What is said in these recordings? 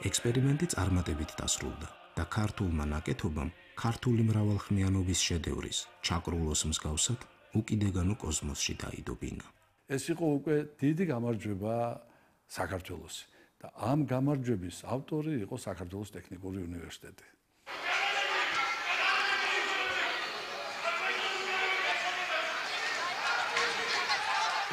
ექსპერიმენტი წარმატებით დასრულდა და ქართულმა ნაკეთობამ ქართული მრავალხმიანობის შედევრის ჩაკრულოს მსგავსად უკიდეგანო კოსმოსში დაიდობინა. ეს იყო უკვე დიდი გამარჯვება საქართველოს და ამ გამარჯვების ავტორი იყო საქართველოს ტექნიკური უნივერსიტეტი.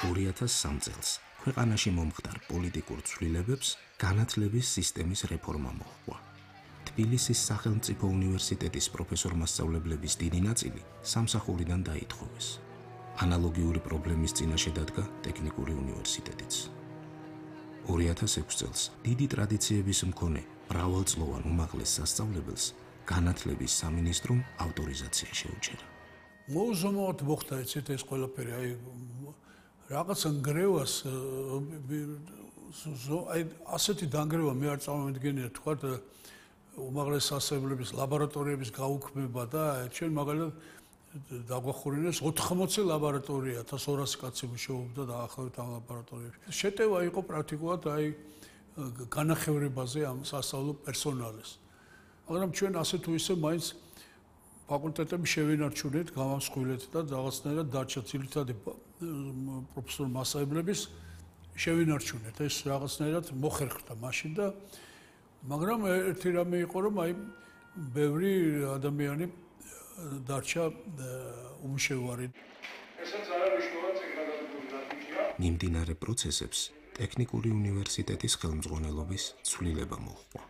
2003 წელს ქვეყანაში მომხდარ პოლიტიკურ ცვლილებებს განათლების სისტემის რეფორმა მოჰყვა. თბილისის სახელმწიფო უნივერსიტეტის პროფესორ-მასწავლებლების დიდი ნაწილი სამსახურიდან დაითხოვეს. ანალოგიური პრობლემის წინაშე დადგა ტექნიკური უნივერსიტეტიც. 2006 წელს დიდი ტრადიციების მქონე მრავალწლოვან უმაღლეს სასწავლებელს განათლების სამინისტრომ ავტორიზაცია შეუჩერა. მოუზომოდ მოხდა ეს ყველაფერი, რაღაცა ნგრევას ასეთი დანგრევა მე არ წარმოვიდგენია თქვა უმაღლეს სასწავლებლების ლაბორატორიების გაუქმება და ჩვენ მაგალითად დაგვახურინეს 80 ლაბორატორია 1200 კაცი მუშაობდა დაახლოებით ამ ლაბორატორიებში. შეტევა იყო პრაქტიკულად განახევრებაზე ამ სასწავლო პერსონალის. მაგრამ ჩვენ ასე თუ ისე მაინც ფაკულტეტები შევინარჩუნეთ, გამავსხვილეთ და რაღაცნაირად დარჩა ძირითადი პროფესორ-მასწავლებლების შევინარჩუნეთ. ეს რაღაცნაირად მოხერხდა მაშინ და მაგრამ ერთი რამე იყო რომ ბევრი ადამიანი დარჩა უმშევარი. ესაც არა მნიშვნელოვანი წიგნადადებული ნათიჯია. მიმდინარე პროცესებს ტექნიკური უნივერსიტეტის ხელმძღვანელობის ცვლილება მოჰყვა.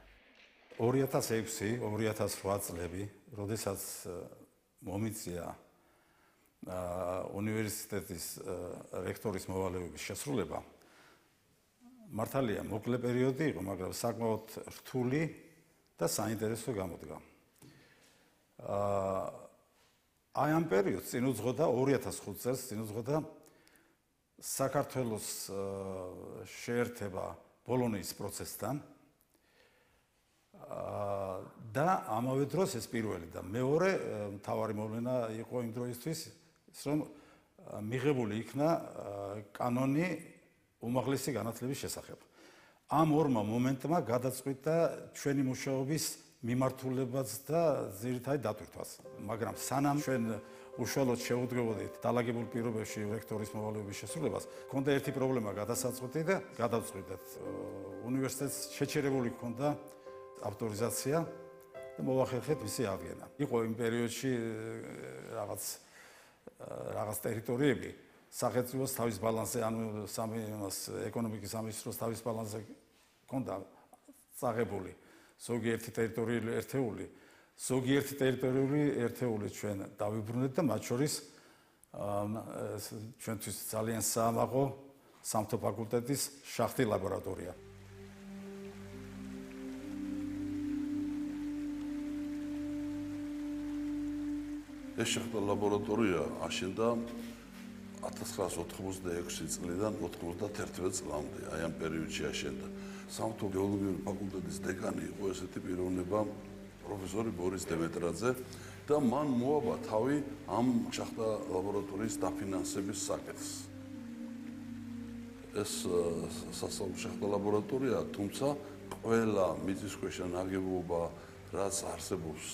2006-2008 წლები, როდესაც მომიწია უნივერსიტეტის რექტორის მოვალეობის შესრულება, მართალია მოკლე პერიოდი იყო, მაგრამ საკმაოდ რთული და საინტერესო გამოდგა. აი ამ პერიოდს წინ უძღოდა 2005 წელს წინ უძღოდა საქართველოს შეერთება ბოლონიის პროცესთან და ამავე დროს ეს პირველი და მეორე მთავარი მოვლენა იყო იმ დროისთვის, რომ მიღებული იქნა კანონი უმაღლესი განათლების შესახებ. ამ ორმა მომენტმა გადაწყვიტა ჩვენი მუშაობის მიმართულებაც და ძირითადი დატვირთვაც. მაგრამ სანამ ჩვენ უშუალოდ შევუდგებოდით დალაგებულ პირობებში რექტორის მოვალეობის შესრულებას, ჰქონდა ერთი პრობლემა გადასაწყვეტი და გადავწყვიტეთ. უნივერსიტეტს შეჩერებული ჰქონდა ავტორიზაცია და მოვახერხეთ მისი აღდგენა. იყო იმ პერიოდში რაღაც ტერიტორიები სახელმწიფოს თავის ბალანსზე, ანუ ეკონომიკის სამინისტროს თავის ბალანსზე ჰქონდა წაღებული. ზოგიერთი ტერიტორიული ერთეული, ზოგიერთი ტერიტორიული ერთეული ჩვენ დავიბრუნეთ და მათ შორის ჩვენთვის ძალიან საამაყო სამთო ფაკულტეტის შახტი ლაბორატორია. ეს შახტა ლაბორატორია აშენდა 1986 წლიდან 91 წლამდე, აი ამ პერიოდში აშენდა. სამთო გეოლოგიური ფაკულტეტის დეკანი იყო ესეთი პიროვნება პროფესორი ბორის დემეტრაძე და მან მოაბა თავი ამ შახტა ლაბორატორიის დაფინანსების საკითხს. ეს სასწავლო შახტა ლაბორატორია, თუმცა ყველა მიწისქვეშა ნაგებობა, რაც არსებობს